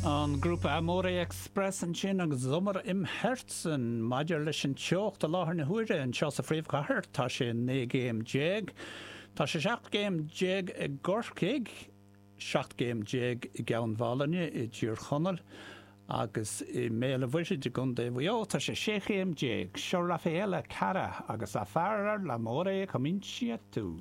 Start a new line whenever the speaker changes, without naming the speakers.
An grúpa Amore Express ansin agus Sommer im Herzen. Maidir leis an teocht i láthair na huaire anseo sa phríomhchathair, tá sé 19 gcéim. Tá sé 17 gcéim i gCorcaigh, 17 gcéim i gCeann Mhálanna i dTír Chonaill agus i mBéal an Mhuirthead i gContae Mhaigh Eo tá sé 16 chéim. Seo Raffaella Carrà agus A fare l'amore cominci tu.